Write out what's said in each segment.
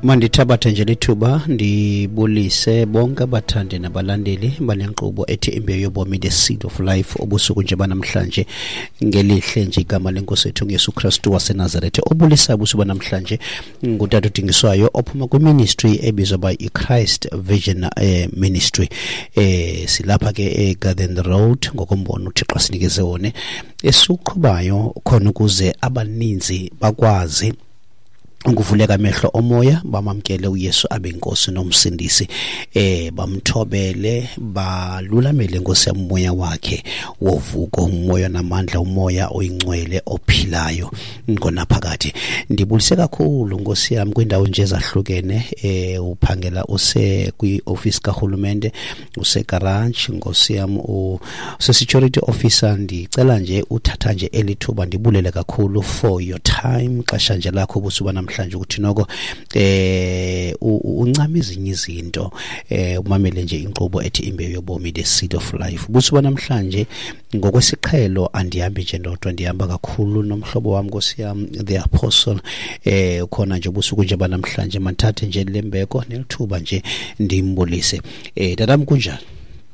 Mandithabathe nje lithuba ndibulise bonke abathandi nabalandeli bale nkqubo ethi Imbewu Yobomi, The Seed of Life, obusuku nje banamhlanje. Ngelihle nje igama lenkosi ethu ngeYesu Kristu waseNazarethe. Obulisa ubusuku banamhlanje ngutata udingiswayo ophuma kwiministry ebizwa by iChrist Vision Ministry. Silapha ke eGarden Road ngokombono uThixo asinikeze wona esiwuqhubayo khona ukuze abaninzi bakwazi ukuvuleka amehlo omoya, bamamkele uYesu abe inkosi nomsindisi, bamthobele, balulamele inkosi yomoya wakhe wovuko, umoya namandla, umoya oyingcwele ophilayo ngonaphakade. Ndibulise kakhulu nkosi yami kwindawo nje ezahlukene, uphangela use kwi-office kahulumente, usegarage nkosi yami, use-security officer. Ndicela nje uthatha nje elithuba ndibulele kakhulu for your time, xesha nje lakho ubusuku namhlanje, ukuthi noko uncama ezinye izinto, umamele nje inkqubo ethi Imbewu Yobomi, The Seed of Life. Ubusuku namhlanje ngokwesiqhelo andihambi nje ndodwa, ndihamba kakhulu nomhlobo wami nkosi yam the apostle, ukhona nje ubusuku nje banamhlanje. Mandithathe nje lembeko nelithuba nje ndimbulise. Tatam, kunjani?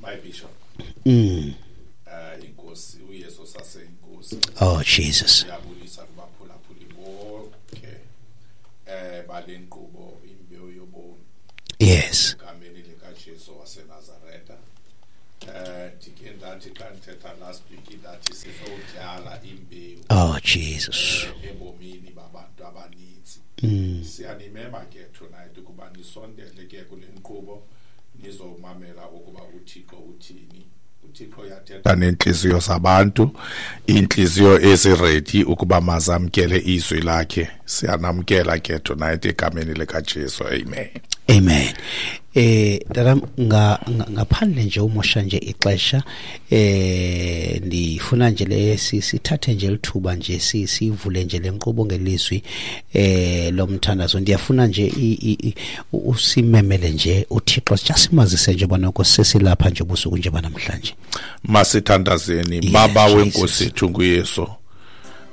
My bishop. Inkosi uYesu saseyinkosi. Oh Jesus. Siyabulisa kubaphulaphuli bonke bale nkqubo Imbewu Yobomi. Egameni likaJesu waseNazaretha. Ndike ndathi xa ndithetha last week ndathi sizotyala imbewu. Oh Jesus. Ebomini babantu abaninzi. Siyanimema ke tonight ukuba nisondele ke kule nkqubo nizomamela ukuba uThixo uthini. uThixo uyathetha neenhliziyo zabantu, iinhliziyo eziready ukuba mazamkele izwi lakhe. Siyanamkela ke tonight egameni likaJesu. Amen. Amen. Tatam, ngaphandle nje umosha nje ixesha, ndifuna nje le sithathe nje lithuba nje sivule nje lenkqubo ngelizwi lomthandazo. Ndiyafuna nje usimemele nje uThixo, simazise nje bonoko sesilapha nje ubusuku nje banamhlanje. Masithandazeni. Baba wenkosi ethu nguYesu,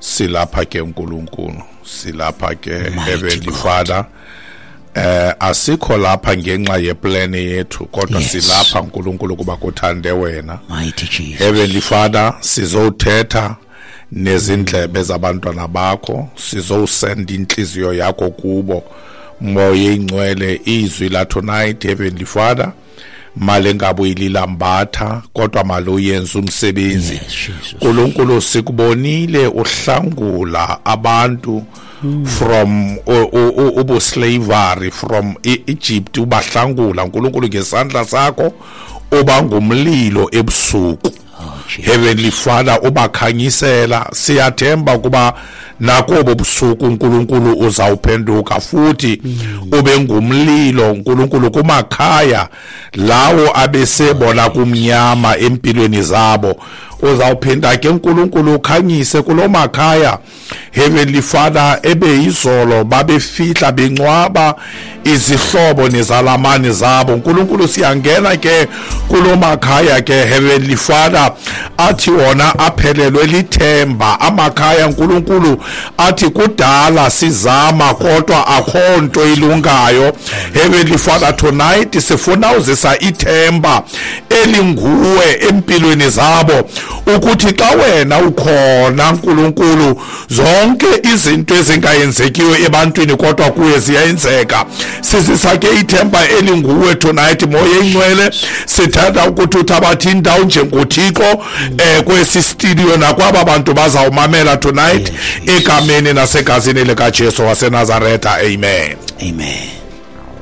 silapha ke uNkulunkulu, silapha ke Heavenly Father. Asikho lapha ngenxa yeplan yethu, kodwa silapha uNkulunkulu kuba kuthande wena. Mighty Jesus. Heavenly Father, sizothetha nezindlebe zabantwana bakho, sizosend inhliziyo yakho kubo. Moya ingcwele, izwi la tonight Heavenly Father, male ngabe ililambatha kodwa maloyenza umsebenzi. uNkulunkulu, sikubonile uhlangula abantu from ubuslavery, from Egypt, ubahlangula uNkulunkulu ngesandla sakho, uba ngumlilo ebusuku. Heavenly Father, ubakhanyisela. Siyathemba kuba nakobo busuku uNkulunkulu uzawuphenduka futhi ube ngumlilo uNkulunkulu kumakhaya lawo abesebona kumnyama empilweni zabo. Uzawuphinda ke uNkulunkulu ukhanyise kulomakhaya Heavenly Father ebeyizolo babefihla bencwaba izihlobo nezalamane zabo. uNkulunkulu, siyangena ke kulomakhaya ke Heavenly Father athi wona aphelelwe lithemba, amakhaya uNkulunkulu athi kudala sizama kodwa akho nto ilungayo. Heavenly Father, tonight sifuna uzisa ithemba elinguwe empilweni zabo, ukuthi xa wena ukhona uNkulunkulu zonke izinto ezingayenzekiyo ebantwini kodwa kuye ziyayenzeka. Sizisa ke ithemba elinguwe tonight. Moya ingcwele, sithanda ukuthi uthabathe indawo njengoThixo kwesi studio nakwaba bantu bazawumamela tonight, egameni nasegazini likaJesu waseNazaretha. Amen. Amen.